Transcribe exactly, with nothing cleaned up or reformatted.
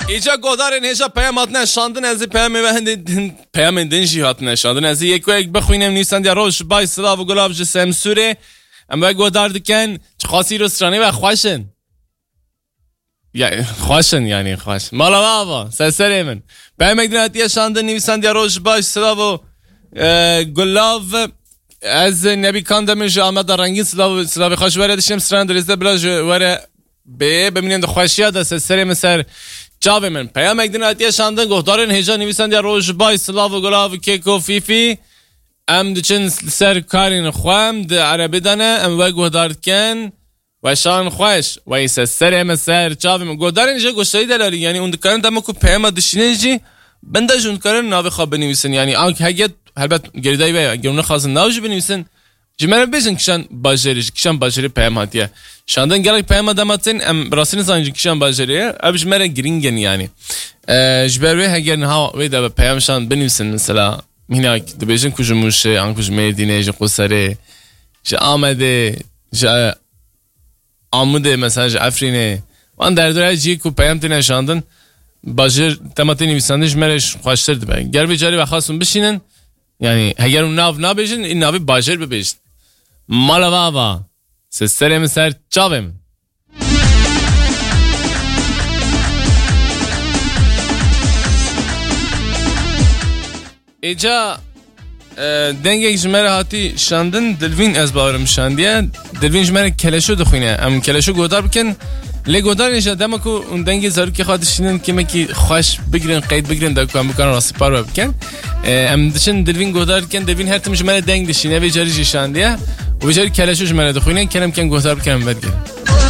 Îca godarên hêja peyam hatine şandin, ez ê peyamê we hindê din, peyamên din jî hatine şandin. Ez ê yek wek bixwînim, nivîsandiya roj, bay silav û gulav ji Semsûrê. Em we godar dikin, çiqasî ro stranê we xweş in. Ya, xweş in, yanî xweş. Mala we ava, ser serê min. Peyamek din hatiye şandin, nivîsandiya roj, baş, silav û, e, gulav. Ez Nebî Kandemir ji Ameda Rengîn, silav, silavê xweş were dişim, stran dirêzde bila ji were bê, bimînin di xweşiya de, ser serê min, ser çavê min. Peyamek din hatiye şandin, guhdarên hêja, nivîsandiya roj, baş, silav û gulav, kêk û fîfî. Em diçin ser karên xwe, em di erebê de ne, em we guhdar dikin. Weşan xweş, weyse serê min, ser çavê min. Godarên ji goştarî delalî, yanî hûn dikarin dema ku peyama dişînin jî, bin de jî hûn dikarin navê xwe binivîsin. Yanî ank hege, helbet girêdayî ve, eger hûn nexwazin nav jî binivîsin, ji me re bêjin kişan bajêrê, ji kişan bajêrê peyam hatiye. Şandin gelek peyama dema tên, em rastî nizanin ji kişan bajêrê ye. Ev ji me re girîng in yanî. E, ji ber wê heger niha wê de be peyam şand binivîsin, mesela mînak dibêjin ku ji Mûşê, an ku ji Mêrdînê, ji Quserê, ji Amedê, ji, e, Amûdê, mesela ji Efrînê. Wan derdora cî ku peyam têne şandin, bajêr dema tê nivîsandin ji me re xweştir dibe. Ger vê carî we xwestin bişînin, yanî heger hûn nav nabêjin, ê navê bajêr bibêjin. Mala we ava, ser serê min, ser çavê min. Êca, e, dengek ji me re hatî şandin, Dilvîn ez bawerim şandiye. Dilvîn ji me re keleşo dixwîne. Em keleşo guhdar bikin. Lê guhdarên jî dema ku hûn dengê zarokê xwe dişînin, kêmekî xweş bigirin, qeyd bigirin, da ku em bikarin rastî parve bikin. E, em diçin Dilvîn guhdar dikin. Dilvîn her tim ji me re deng dişîne. Vê carî jî şandiye. Û vê carî keleşo ji me re dixwîne. Kerem ken guhdar bikin, em vedigerin.